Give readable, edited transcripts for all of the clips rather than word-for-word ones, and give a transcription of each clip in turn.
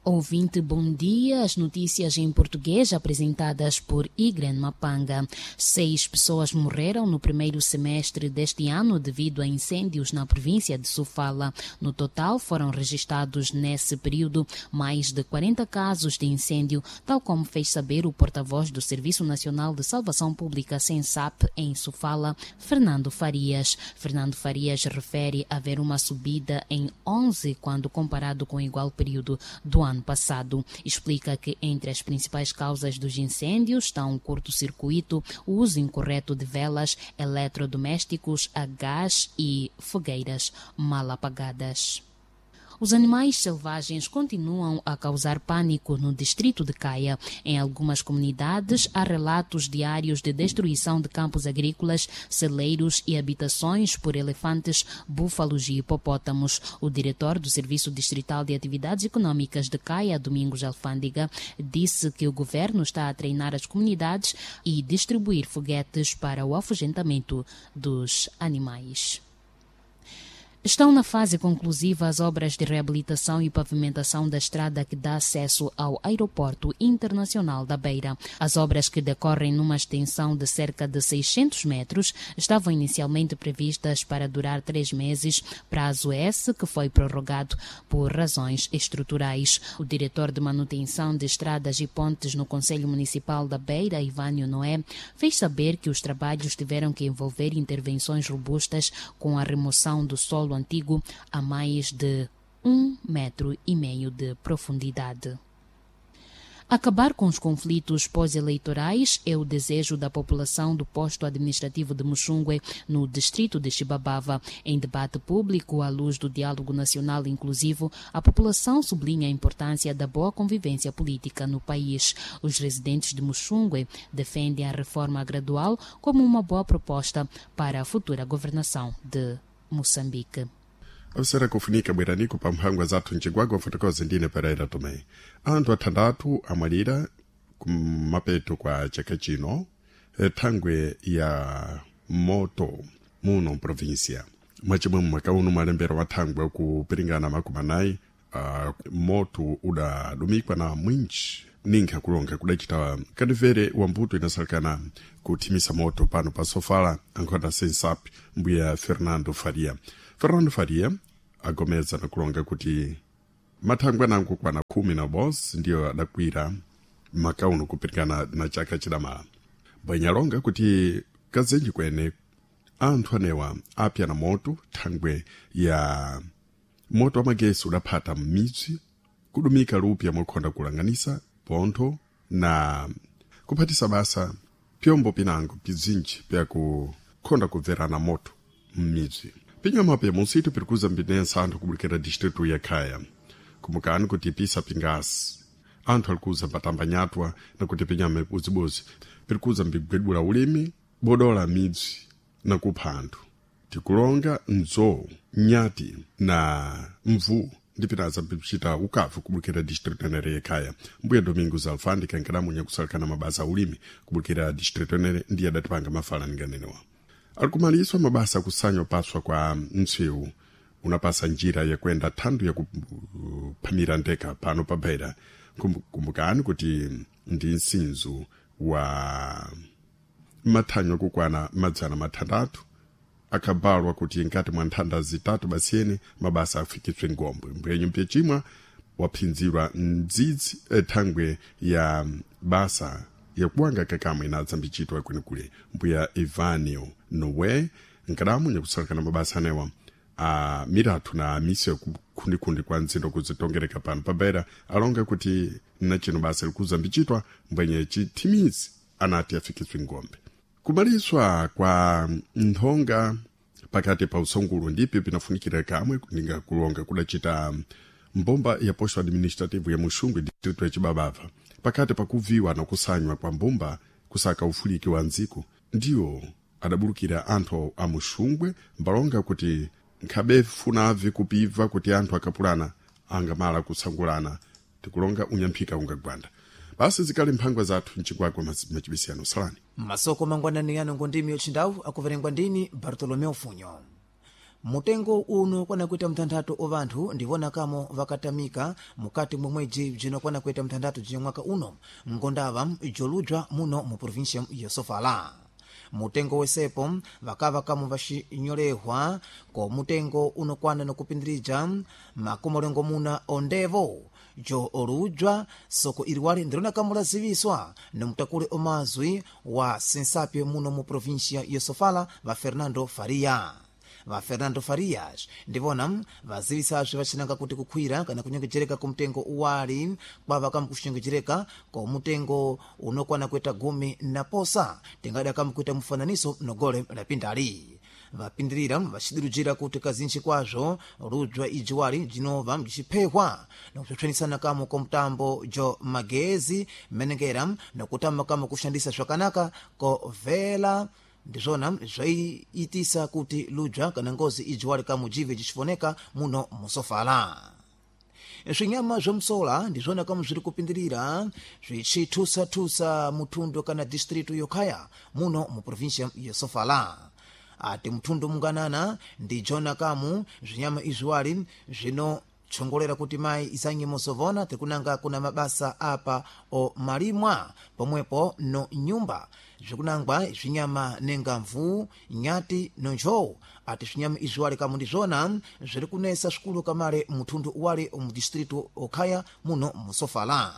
Ouvinte, bom dia. As notícias em português apresentadas por Igren Mapanga. 6 pessoas morreram no primeiro semestre deste ano devido a incêndios na província de Sofala. No total, foram registrados nesse período mais de 40 casos de incêndio, tal como fez saber o porta-voz do Serviço Nacional de Salvação Pública, SENSAP, em Sofala, Fernando Farias. Fernando Farias refere haver uma subida em 11 quando comparado com o igual período do ano passado. Explica que entre as principais causas dos incêndios estão o curto-circuito, o uso incorreto de velas, eletrodomésticos a gás e fogueiras mal apagadas. Os animais selvagens continuam a causar pânico no distrito de Caia. Em algumas comunidades, há relatos diários de destruição de campos agrícolas, celeiros e habitações por elefantes, búfalos e hipopótamos. O diretor do Serviço Distrital de Atividades Econômicas de Caia, Domingos Alfândega, disse que o governo está a treinar as comunidades e distribuir foguetes para o afugentamento dos animais. Estão na fase conclusiva as obras de reabilitação e pavimentação da estrada que dá acesso ao Aeroporto Internacional da Beira. As obras, que decorrem numa extensão de cerca de 600 metros, estavam inicialmente previstas para durar 3 meses, prazo esse que foi prorrogado por razões estruturais. O diretor de manutenção de estradas e pontes no Conselho Municipal da Beira, Ivânio Noé, fez saber que os trabalhos tiveram que envolver intervenções robustas com a remoção do solo antigo a mais de 1,5 metro de profundidade. Acabar com os conflitos pós-eleitorais é o desejo da população do posto administrativo de Muxungue, no distrito de Chibabava. Em debate público, à luz do diálogo nacional inclusivo, a população sublinha a importância da boa convivência política no país. Os residentes de Muxungue defendem a reforma gradual como uma boa proposta para a futura governação de Moçambique. Avesera kufunika bweraniku pa mphangwa zathu mcigwagwa fotokozi ndine Pereira Tomé. Anthu athandathu amwalira kumapeto kwa chaka chino thangwe ya moto muno mprovinsia mwachimwe mwaka uno mwalembera wa thangwe kupiringana 40 moto udadumikwa na mwinji ninkha kulonga kudacita kadivere wa mbuto inasalikana kuthimisa moto pano pa Sofala ankhona sensap mbuya Fernando Faria. Fernando Faria agomeza na kulonga kuti mathangwe anango kwana 11 ndiyo adakwira makauno kupirikana na chaka chidamala. Bwanyalonga kuti kazenji kwene anthu anewa apya na moto thangwe ya moto wa magesi udaphata m'midzi kudumika lupya mokhonda kulanganisa pontho na kuphatisa basa pyombo pinango bzinji pyakukhonda kubverana moto m'midzi. Pinyama pya musitu pirikuza mbinensa anthu kubulikira distritu ya Khaya. Kumukani kuti pisa pingasi anthu alikuza mbatambanyatwa na kuti pinyama buzibuzi pirikuza mbigwedula ulimi bodola midzi na kupha anthu. Tikulonga nzowu, nyati na mvu ndipinaza bikuchita ukavu kubulikira distrito enere yekhaya. Mbuya Domingos Alfandi kankadamunya kusalikana mabasa ulimi kubulikira distrito enere ndiye adatipanga mafalaninganenewa. Alikumaliswa mabasa akusanywa paswa kwa msewu unapasa njira yakwenda thandu yakuphamira ndeka pano pa Beira. Kumbukani kuti ndi msinzu wa mathanyo akukwana 600 akhabalwa kuti nkati mwa nthanda zitatu basiyeni mabasa afikiswe ngombwe. Mbwenyu mpyechimwa waphinzirwa mdzidzi thangwe ya basa yakuwanga kakamwe inadza mbichitwa kwenikule. Mbuya Ivanio Nowe nkadamu nyakusalakana mabasa anewa a mirathu na misi yakukhundikhundi kwa ntsindo kuzitongereka pano pa Beira alonga kuti nachino basa likuza mbichitwa mbwenye chithimizi anati afikiswe ngombe. Kumaliswa kwa nthonga pakati pa usongolo ndipyo pinafunikira kamwe ninga kulonga kudacita mbomba ya posto administrativo ya Muxungue distrito ya Chibabava pakati pa kuviwa na kusanywa kwa mbomba kusaka ufuliki wa ndziko ndiyo adabulukira anthu a Muxungue mbalonga kuti nkhabe funavi kupiva kuti anthu akapulana angamala kusangulana tikulonga unyamphika ungagwanda. Basi zikali mphangwa zathu mchigwagwa machibisiyano salani masoko mangwanani yano ngondimi yochindawu akuverengwa ndini Bartolomeu Funyo. Mutengo uno kwana kuita mthanthatu ovanthu ndivona kamo vakatamika mukati mwa mwedzi bzino kwana kuita mthanthatu bzino mwaka uno ngondava joludwa muno mu província ya Sofala. Mutengo wesepo vakava kamo vaxinyolehwa ko mutengo unokwana nokupindirija 60 ondevo jo oludwa soko iliwali ndirona kamo laziviswa nomutakuli omazwi wa sensapio muno mu província ya Sofala va Fernando Faria. Va Fernando Farias ndivona vazivisazve vacinanga kuti kukhwira kana kunyengedzereka kumtengo uwali kwava kamukuxinyengedzereka ko mutengo unokwana kuita 10 tingada kamukuita mufananiso nogole lapindali. Vapindirira vacidirujira kuti kazinji kwazvo ludzwa ijiwali jinova mjixiphehwa nokupsopsonisana kamo ko mutambo jo magezi menengera nokutama kamo kuxandisa zvakanaka ko vela ndizvona zvaiitisa kuti ludzwa kana ngozi ijiwali kamujive jichivoneka muno musofala. Zvinyama zvomusola ndizvona kamu zviri kupindirira zvichithusathusa muthundu kana distritu yokhaya muno mu província ya Sofala. Ati mthundu munganana ndijona kamu zvinyama izviwali zvino tchongolera kuti mayi izanye mozovona tikunanga kuna mabasa apa o malimwa pomwepo no nyumba zvikunangwa zvinyama nenga mvuu, nyati no njowu. Ati zvinyama izviwali kamu ndizvona zviri kunesa svikulu kamale muthundu uwali mu distritu okhaya muno musofala.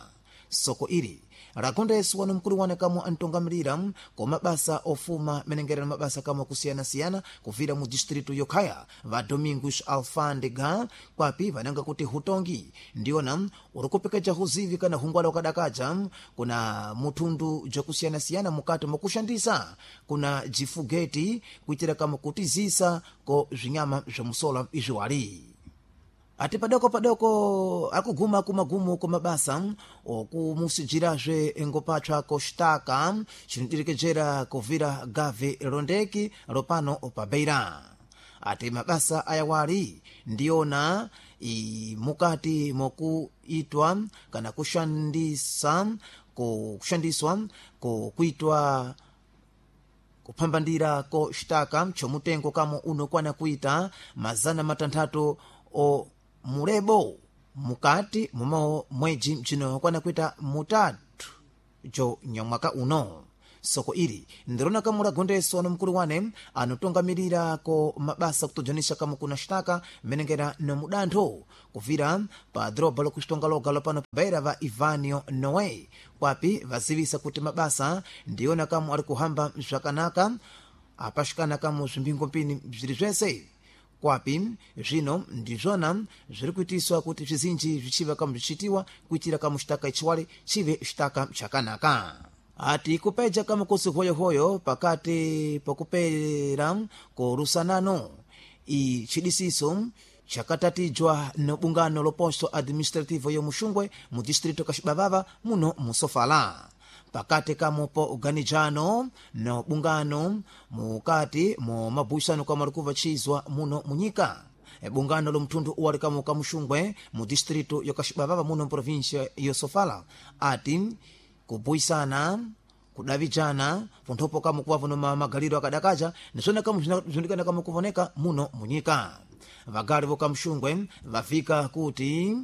Soko ili lakondeswa nomukulu wane kamwe antongamirira ko mabasa ofuma menengerera mabasa kamwe kusiyana-siyana kuvira mu distritu yokhaya va Domingos Alfandega kwapi vananga kuti hutongi ndiona uri kupekeja huzivi kana hungwala wakadakaja kuna muthundu jakusiyana-siyana mukati mokushandisa kuna jifugeti kuitira kamwe kutizisa ko zvinyama zvamusola izviwali. Ati padoko padoko akuguma kumagumo komabasa okumusijirazve ngopatsva koxitaka cinodirikejera kuvira gave londeki lopano pabeira. Ati mabasa ayawali ndiyona mukati mokuitwa kana kushandisa kushandiswa kuitwa kuphambandira ko xitaka chomutengo kamo unokwana kuita 600 o mulebo mukati mumawo mwedzi mcino kwana kuita mutatu jo nyamwaka uno. Soko ili ndirona kamwe lagondeswa nomukulu wane anotongamirira ko mabasa kutojanisa kamwe kuna xitaka menengera nomudantho kuvira pa dhoroba lokuxitonga loga lopano pabeira va Ivanio Noé kwapi vazivisa kuti mabasa ndiyona kamwe ari kuhamba zvakanaka apaxikana kamwe zvimbingompini bziri zvese kwapi zvino ndizvona zviri kuitiswa kuti zvizinji zvichiva kamwe zvichitiwa kuitira kamwe xitaka ichiwali chive xitaka chakanaka. Ati kupeja kamwe kusihoyohoyo pakati pokupera korusanano ichidisiso chakatatijwa no bungano lo posto administrativo yo Muxungwe mu distrito Kaxibavava muno musofala. Pakati kamo po uganijano no bungano mukati mo mabusano kamwe likuva muno munyika. Bungano lo mthundu uwali kamo ka Muxungwe mu distrito yo Kaxibavava muno mu província yo Sofala ati kubuisana kudavijana ponthopo kamwe kuwavo no magaliro akadakaja niswona kamwe zvinodikana kamwe kuvoneka muno munyika. Vagali vokamuxungwe vafika kuti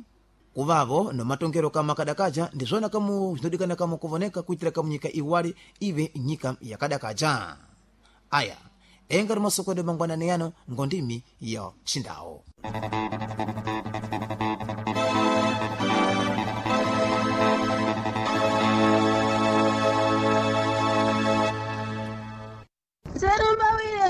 kuvavo no matongero kama akadakaja ndizvona kamwe zvinodikana kamwe kuvoneka kuitira kamwe nyika iwali ive nyika yakadakaja. Aya enga ri edu mangwanani yano ngondimi ya chindawo.